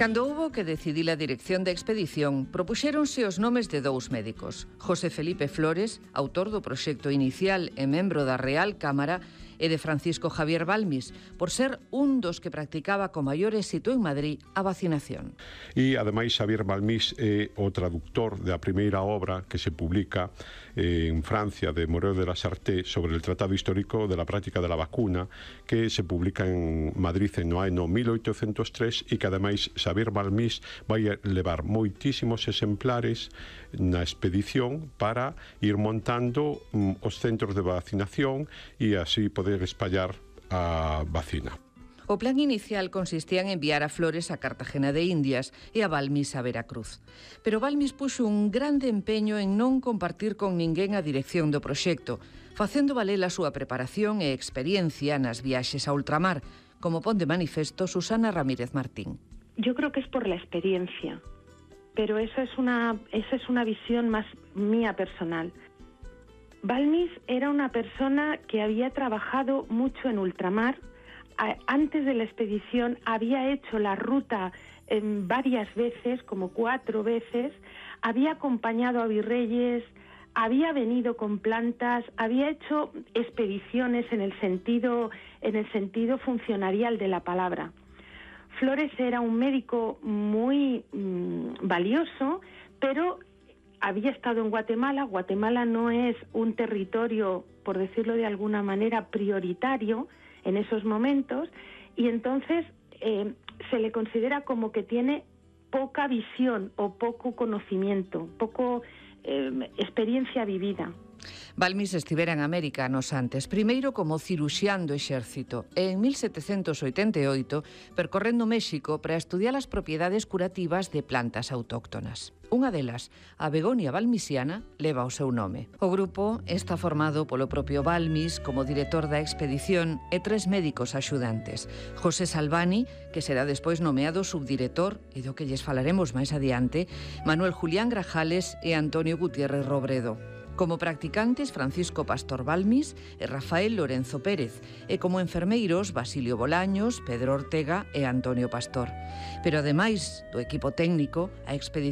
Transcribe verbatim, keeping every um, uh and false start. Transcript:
Cando houbo que decidir a dirección da expedición, propuxéronse os nomes de dous médicos. José Felipe Flores, autor do proxecto inicial e membro da Real Cámara, e de Francisco Javier Balmis, por ser un dos que practicaba con maior éxito en Madrid a vacinación. E, ademais, Xavier Balmis é o traductor da primeira obra que se publica en Francia de Moreau de la Charité sobre el Tratado Histórico de la Práctica de la Vacuna, que se publica en Madrid no ano mil oitocentos tres e que, ademais, Xavier Balmis vai levar moitísimos exemplares na expedición para ir montando os centros de vacinación e así poder espallar a vacina. O plan inicial consistía en enviar a Flores a Cartagena de Indias e a Balmis a Veracruz. Pero Balmis puxo un grande empeño en non compartir con ninguén a dirección do proxecto, facendo valer a súa preparación e experiencia nas viaxes a ultramar, como pon de manifesto Susana Ramírez Martín. Yo creo que es por la experiencia, pero eso es una, esa es una visión más mía personal. Balmis era una persona que había trabajado mucho en ultramar. Antes de la expedición había hecho la ruta eh, varias veces, como cuatro veces, había acompañado a virreyes, había venido con plantas, había hecho expediciones en el sentido, en el sentido funcionarial de la palabra. Flores era un médico muy mmm, valioso, pero había estado en Guatemala. Guatemala no es un territorio, por decirlo de alguna manera, prioritario en esos momentos, y entonces eh, se le considera como que tiene poca visión o poco conocimiento, poco eh, experiencia vivida. Balmis estivera en América anos antes, primeiro como ciruxián do exército e en mil setecentos oitenta e oito percorrendo México para estudiar as propiedades curativas de plantas autóctonas. Unha delas, a begonia balmisiana, leva o seu nome. O grupo está formado polo propio Balmis como director da expedición e tres médicos axudantes. José Salvani, que será despois nomeado subdirector e do que lles falaremos máis adiante, Manuel Julián Grajales e Antonio Gutiérrez Robredo. Como practicantes, Francisco Pastor Balmis e Rafael Lorenzo Pérez, e como enfermeiros, Basilio Bolaños, Pedro Ortega e Antonio Pastor. Pero, ademais do equipo técnico, a expedición